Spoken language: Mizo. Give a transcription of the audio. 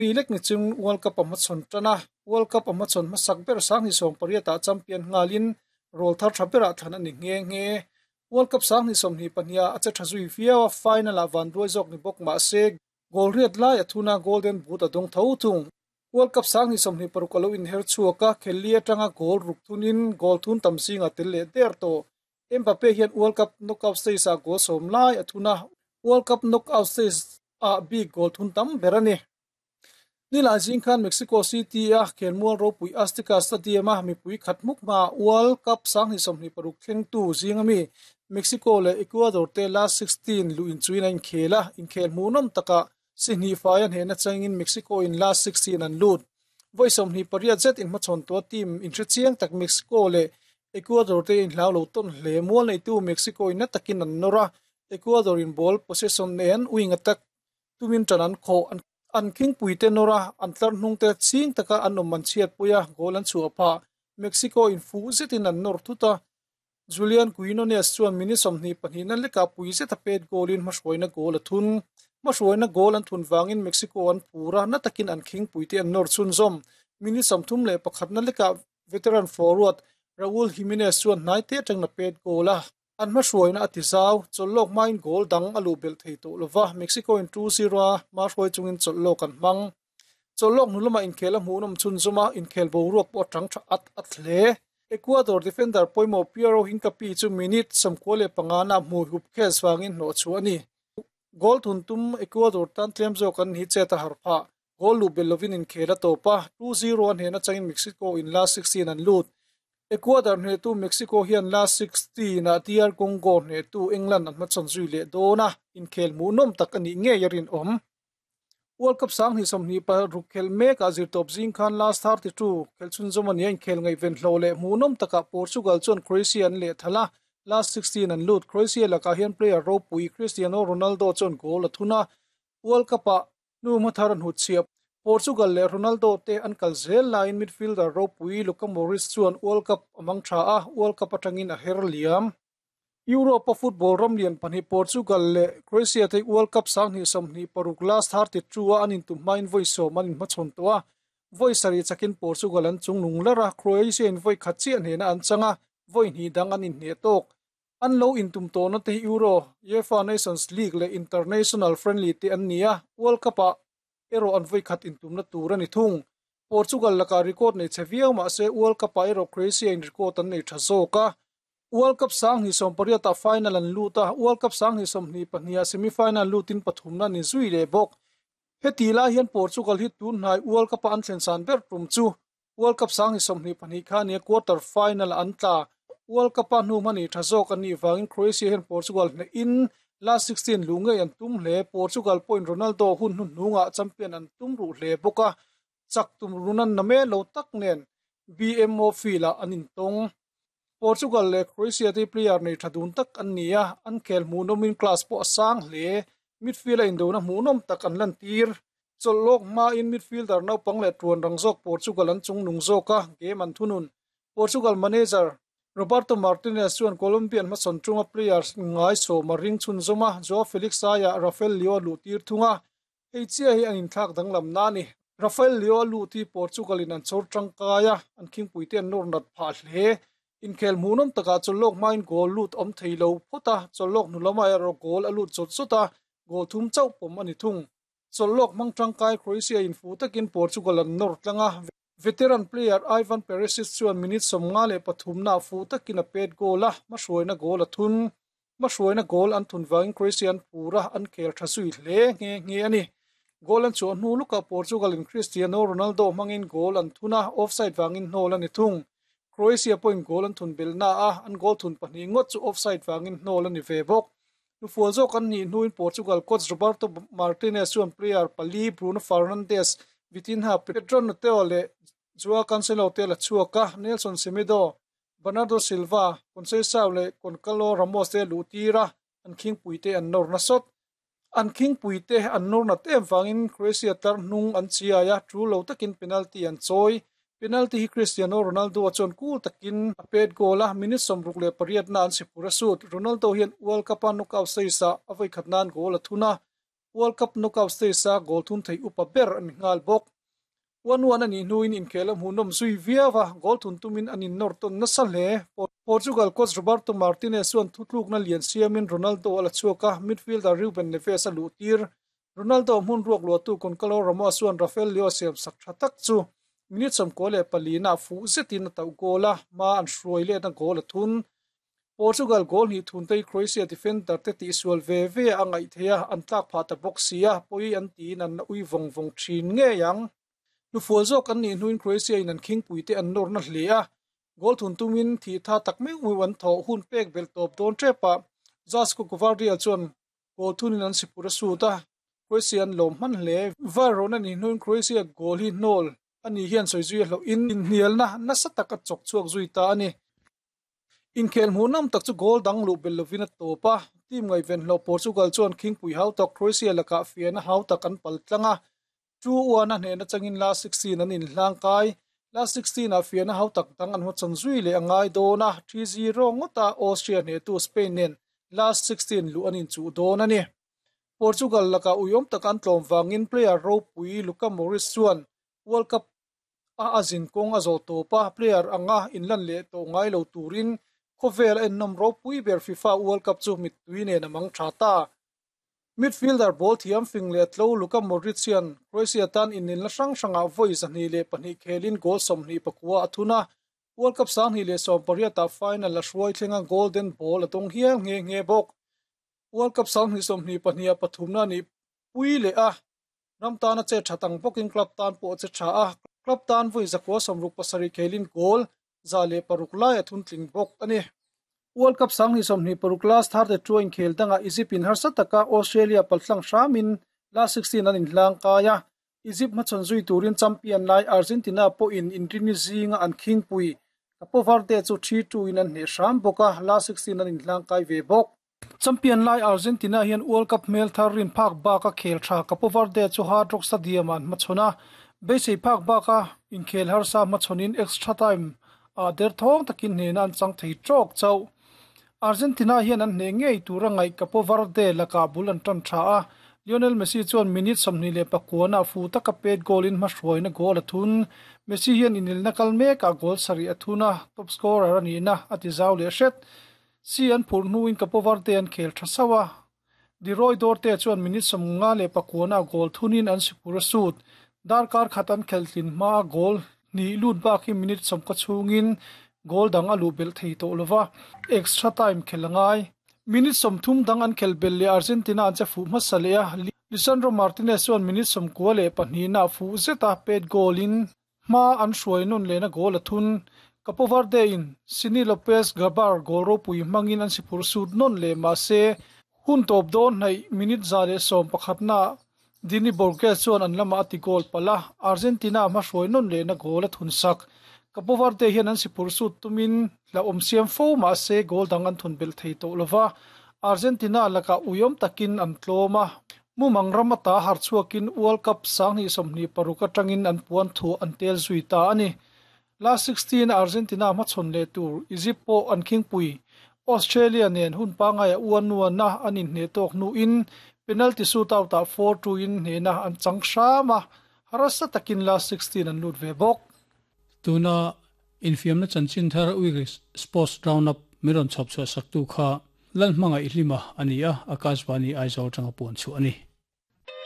Mi lek ni chung World Cup a hmachhawn tan a, World Cup a hmachhawn hmasak ber 2018 ah champion nghalin rawl thar tha berah thlan a ni nghe nghe. World Cup 2022 ah a che tha zui viau a, final ah vanduai zawk ni bawk mah se goal riat lai a thun a, Golden Boot a dawng tho thung. World Cup 2026 a lo inher chhuak a, khelli atanga goal ruk thunin goal thun tam zingah tel leh der tawh. Mbappe hian World Cup knockout stage ah goal sawm lai a thun a, World Cup knockout stage ah bik goal thun tam ber a ni. Nilai zing khan Mexico City-a khelmual ropui Azteca Stadium-a mipui khat hmuk hmaah World Cup 2026 thlengtu zinga mi Mexico leh Ecuador te last 16 luh inchuin a inkhel a, inkhel hmuhnawm takah si hnih fai a hnehna changin Mexico-in last 16 an lut. Vawi 28 zet inhmachhawn tua team inhre chiang tak Mexico leh Ecuador te inhlau lo tawn hle. Mual neitu Mexico-in na takin an nawr a, Ecuador-in ball possession nen wing attack tumin tan an khawh. An khingpui te nawr a, an tlar hnung te ching taka an awm an chhiatpui a, goal an chhuah phah. Mexico-in fuh zetin an nawr thut a, Julian Quinones chuan minute 22 na lekah pui zeta pet goal-in hmahruaina goal a thun. Hmahruaina goal an thun vangin Mexico an phur a, na takin an khingpui te an nawr chhunzawm. Minute 31 na lekah veteran forward Raul Jimenez chuan hnai te atangin a pet goal a. An hmahruaina a ti zau, chawlh lawk hmain goal dang a luh belh thei tawh lova, Mexico-in 2-0 a hmahruai chungin chawlh lawk an hmang. Chawlh lawk hnu lamah inkhel a hmuhnawm chhunzawm a, inkhel boruak pawh a tang tha at at hle. Ecuador defender pawimawh Piero Hincapie chu minute 95 na hmui hup khes vangin hnawh chhuah a ni. Goal thun tum Ecuador tan tlem zawk an ni chet a harh phah. Goal luh belh lovin inkhel a tawp a, 2-0 a hnehna changin Mexico in last 16 an lut. Ecuador hnehtu Mexico hian last 16 ah DR Congo hnehtu England an hmachhawn zui leh dawn a, inkhel hmuhnawm tak a nih ngei a rinawm. World Cup 2026 khelh mekah zirtawp zing khan last 32 khelh chhunzawm a ni a, inkhel ngaihven hlawh leh hmuhnawm takah Portugal chuan Croatia an lehthal a, last 16 an lut. Croatia lakah hian player ropui Cristiano Ronaldo chuan goal a thun a, World Cup-ah hnu hmathar a hnutchhiah. Portugal leh Ronaldo te an kal zel laiin midfielder ropui Luka Modric chuan World Cup a mang tha a, World Cup atangin a her liam. Europe-a football ram lian pahnih Portugal leh Croatia te World Cup 2026 last 32 a an intum hmain vawi sawm an inhmachhawn tawh a, vawi sarih chakin Portugal an chungnung lar a, Croatia in vawi khat chiah hnehna an chang a, vawi hnih dang an inhneh tawk. An lo intum tawhna te hi Euro, UEFA Nations League leh International Friendly te an ni a, World Cup-ah erawh an vawi khat intumna tur a ni thung. Portugal lakah record nei chhe viau mah se World Cup-ah erawh Croatia in record an nei tha zawk a. World Cup 2018 ah final an lut a, World Cup 2022 ah semi-final lutin pathumna an inzui leh bawk. Heti lai hian Portugal hi tun hnai World Cup-a an thlen san ber tum chu World Cup 2022 kha nia quarter final an tla. World Cup-a hnu hmani tha zawk an nih vangin Croatia hian Portugal hnehin last 16 luh ngei an tum hle. Portugal pawhin Ronaldo hun hnuhnungah champion an tum ruh hle bawk a, chak tum runan na mel lo tak nen BMO field-ah an intawng. Portugal leh Croatia te player nei tha dun tak an ni a, an khel hmuhnawmin class pawh a sang hle. Midfield-a indona hmuhnawm tak an lantir. Chawlh lawk hmain midfielder naupang leh tuan rang zawk Portugal an chungnung zawk a, game an thunun. Portugal manager Roberto Martinez chuan Colombian hmasawn chunga players ngai sawm a ring chhunzawm a, Joao Felix aiah Rafael Leao a luh tir thung a, hei chiah hi an inthlak danglam na a ni. Rafael Leao a lut hi Portugal in an chhawr tangkai a, an khingpuite an nawr nat phah hle. Inkhel hmuhnawm takah chawlh lawk hmain goal lut awm thei lo phawt a, chawlh lawk hnu lamah erawh goal a lut zawt zawt a, goal thum chauh pawm a ni thung. Chawlh lawk hmang tangkai Croatia in fuh takin Portugal an nawr tlang a, veteran player Ivan Perisic chuan minute 53 naah fuh takin a pet goal a, hmahruaina goal a thun. Hmahruaina goal an thun vangin Croatia an phur a, an khel tha zui hle nghe nghe a ni. Goal an chhuah hnu lukah Portugal in Cristiano Ronaldo hmangin goal an thun a, offside vangin hnawl a ni thung. Croatia pawhin goal an thun belh na a, an goal thun pahnih ngawt chu offside vangin hnawl a ni ve bawk. Hnufual zawk an nih hnuin Portugal coach Roberto Martinez chuan player pali Bruno Fernandes, Vitinha, Pedro Neto leh Joao Cancelo te la chhuak a, Nelson Semedo, Bernardo Silva, Conceição leh Goncalo Ramos te luh tir a, an khingpui te an nawr nasawt. An khingpui te an nawr nat em vangin Croatia tlar hnung an chiai a, tul lo takin penalty an chawi. Penalty hi Cristiano Ronaldo a chuan cool takin a pet goal a, minute 68 na an si phur a sut. Ronaldo hian World Cup-a knockout stage-ah a vawikhat nan goal a thun a. World Cup knockout stage-a goal thun thei upa ber a ni nghal bawk. 1-1 a nih hnuin inkhel a hmuhnawm zui viau a, goal thun tumin an innawr tawn nasa hle. Portugal coach Roberto Martinez chuan thutlukna lian siamin Ronaldo a la chhuak a, midfielder Ruben Neves a luhtir. Ronaldo hmun ruak luahtu Goncalo Ramos chuan Rafael Leao siam sak tha tak chu minute 94 ah fuh zetin a tauh goal a, hma an hruai letna goal a thun. Portugal goal hnih thun te hi Croatia defender te tihsual ve ve a ngaih theih a, an tlak phah ta bawk si a, pawi an tiin an la ui vawng vawng thin ngei ang. Hnufual zawk an nih hnuin Croatia in an khingpui te an nawrna hle a, goal thun tumin thih tha tak meuh meuh an thawh hun pek belh tawp dawn tep a, Josko Gvardiol chuan Goal thunin an sipur a sut a, Croatia an lawm hman hle. Var rawn a nih hnuin Croatia goal hi hnawl a nih hian sawi zui a hlauh in inhnialna nasa tak a chawk chhuak zui ta a ni. Inkhel hmuh nawm tak chu goal dang luh belh lovin a tawp a, team ngaihven hlawh Portugal chuan khingpui hau tak Croatia lakah fiahna hau tak an pal tlang a, 2-1 a hnehna changin last 16 an inhlang kai. Last 16 ah fiahna hau tak dang an hmachhawn zui leh a ngai dawn a, 3-0 ngawta Austria hnehtu Spain nen last 16 luh an inchuh dawn a ni. Portugal lakah uiawm tak an tlawm vangin player ropui Luka Modric chuan World Cup a a zin kawng a zawh tawp a, player anga inlan leh tawh ngai lo turin khawvel a ennawm ropui ber FIFA World Cup chu mittui nen a mang tha ta. Midfielder ball thiam fing leh tlo Luka Modric hian Croatia tan inelna hrang hrangah vawi 202 khelin goal 24 a thun a, World Cup 2018 ah final a hruai thlenga Golden Ball a dawng hial nghe nghe bawk. World Cup 2022 ah pathumna a nih pui leh a, ram tana che tha tang bawkin club tan pawh a che tha a, club tan vawi 167 khelin goal 106 lai a thun tling bawk a ni. World Cup 2026 last tharte chu a inkhel dangah Egypt in harsa taka Australia paltlang hramin last 16 an inhlang kai a, Egypt hmachhawn zui turin champion lai Argentina pawhin inrini zinga an khingpui Capo Verde chu 3-2 in an hneh hram bawk a, last 16 an inhlang kai ve bawk. Champion lai Argentina hian World Cup hmel thar rin phak baka khel tha Capo Verde chu Hard Rock Stadium ah an hmachhawn a, beisei phak baka inkhel harsa hmachhawnin extra time ah derthawng takin hnehna an chang thei tawk chauh. Argentina hian an hneh ngei tura ngaih Capo Verde lakah bul an tan tha a, Lionel Messi chuan minute 29 ah fu taka pet goal in hmahruaina goal a thun. Messi hian inelna kal mekah goal sarih a thun a, top scorer a nihna a ti zau leh hret. Si an phurh hnuin Capo Verde an khel tha sauh a, Leroy Dorte chuan minute 59 ah goal thunin an sipur a sut. Darkar khat an khelh tlin hmaa goal hnih lut bak hi minute 90 chhungin goal dang a luh belh thei tawh lova, extra time khelh a ngai. Minute 30 dang an khelh belh leh Argentina an che fuh hmasa leh a, Lisandro Martinez chuan minute 92 ah fuh zeta pet goal in Hma an hruai nawn lehna goal a thun. Capo Verde in Sini Lopez Gabar goal ropui hmangin an siphurh sut nawn leh mahse hun tawp dawn hnaih minute 111 ah Dini Borges chuan an lamah a ti goal palh a, Argentina hma hruai nawn lehna goal a thun sak. Capo Verde hian an siphurh sut tumin hlauhawm siam fo mahse goal dang an thun belh thei tawh lova, Argentina lakah uiawm takin an tlawm a. Mumang ram ata har chhuakin World Cup 2026 atangin an puan thuah an tel zui ta a ni. Last 16 a Argentina hmachhawn leh tur Egypt pawh an khingpui. Australia nen hun pangaia uan uana an inhneh tawk hnuin penalty shootout ah 4-2 in hnehna an chang hram a, harsa takin last 16 an lut ve bawk. Tuna infiamna chanchin thar Weekly Sports Roundup min rawn chhawp chhuah saktu kha Lalhmangaih Hlima a ni a, Akashvani Aizawl atanga puan chhuah a ni.